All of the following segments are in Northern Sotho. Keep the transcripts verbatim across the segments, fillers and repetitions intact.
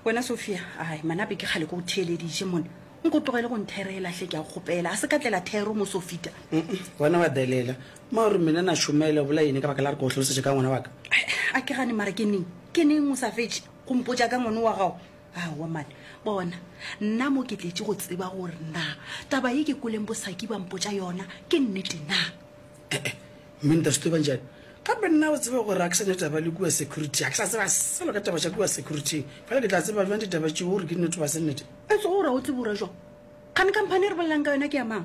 Wena Sophia, ai manape ke kgale ke go theeleditše mone. Nko tlogele go ntherela hle ke a go kgopela. A se ka tlela thero mo Sofita. Wena wa delela. Ma gore mina na šomela o bola eng ka baka la re ke go hlalosetša ka ngwana wa ka? A ke gane mara ke neng? Ke neng o sa fetše go mpotša ka ngwana wa gago? Aowa mane. Bona, nna mo ke tletše go tseba gore na taba ye ke kweleng bosaki ba mpotša yona ke nnete na. Eh-eh, mme ntate ba njani? Gape nna o tsebe gore ga ke sa ne taba le kua security, ga ke sa tseba selo ka taba tša kua security. Fela ke tla tseba bjang ditaba tšeo gore ke nnete goba se nnete? E tsogo gore o tsebe gore jwang? Kgane company e re bolelang ka yona ke ya mang?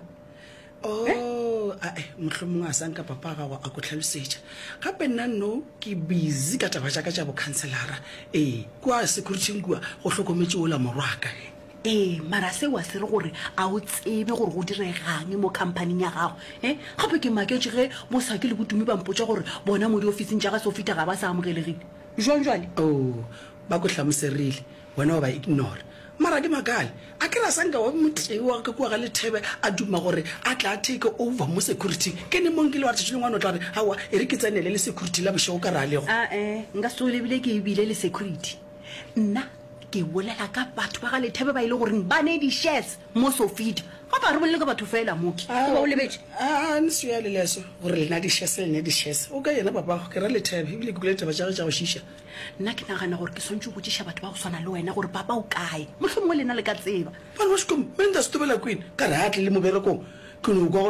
Oh, ae, mohlomongwe a sa nka papa gago a ko hlalosetša. Gape nna no ke busy ka taba tša ka tša bokhanselara. Ee, kua security kua go hlokometše ola morwaka. Ee, mara seo a se re gore a o tsebe gore go diregang mo companyng ya gago. E gape ke maketše ge bosaki le botumi ba mpotša gore bona mo diofising tša ga Sofita ga ba sa amogelegile. Jwang jwale? Oh, ba ko hlamoserile, wena wa ba ignore. Mara ke makale, a ke ra sa nka wa motee wa ka kua ga Lethebe a duma gore a tla take over mo security. Ke ne mo nkile wa re tšatši lengwe a no tla re, aowa, e re ke tsenele le security la bošego ka re a lego. Ae, nka se tsoge le bile ke bile le security. Nna ke bolela ka batho ba ga Lethebe ba e le goreng ba ne di-shares mo Sofita. Gape ga re bolele ka batho fela mo ke. Goba o lebetše? A ne se ya le leso gore lena di-shares le ne di-shares. O ka yena papago, ke ra Lethebe, ebile ke kwele ditaba tša gagwe tša go šiša. Nna ke nagana gore ke swanetše go botšiša batho ba go swana le wena gore papa o kae. Mohlomongwe lena le ka tseba. Bana ba sekolo, mme nta se tobela kwena, ka re a tle le moberekong. Ke no kwa gore